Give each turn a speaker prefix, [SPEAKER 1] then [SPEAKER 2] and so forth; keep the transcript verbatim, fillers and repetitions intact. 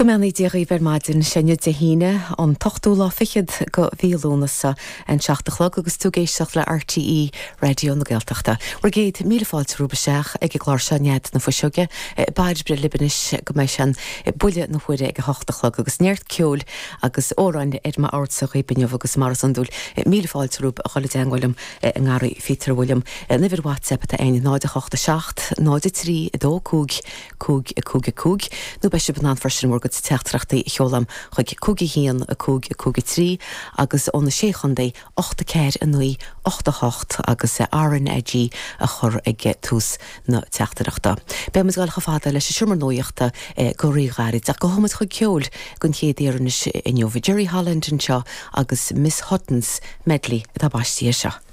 [SPEAKER 1] Go mbeannaí Dia dhaoibh ar maidin sé inniu Dé hAoine an t-ochtú lá fichead de mhí Lúnasa an seacht a chlog agus tú ag éisteacht le RTÉ Raidió na Gaeltachta. Bhur gcéad míle fáilte romhaibh isteach ag an gclár seo Nead na Fuiseoige, Bairbre libh anois go mbeidh sé an buille na huaire ag a hocht a chlog agus neart ceoil agus amhráin ar m'ordsa dhaoibh inniu agus mar is iondúil míle fáilte romhaibh a dhul i dteagmháil liom i ngarraí Phíotair William. An uimhir WhatsApp atá ann náid a hocht a seacht, náid a trí, a dó cúig, cúig a cúig a cúig, nó beidh sibh in ann freisin bhur gcuid teachtaireachtaí a sheoladh chuig cúig a haon a cúig a cúig a trí agus ó na sé chontae ocht a ceathair a naoi ocht a hocht agus RnaG a chur ag tús na teachtaireachta. Beidh muid ag dul chomh fada leis an seomra nuachta go ríghairid ach gabhfaidh muid chuig ceol den chéad uair anois inniu Jerry Holland anseo agus Miss Hutton's Medley atá baiste seo.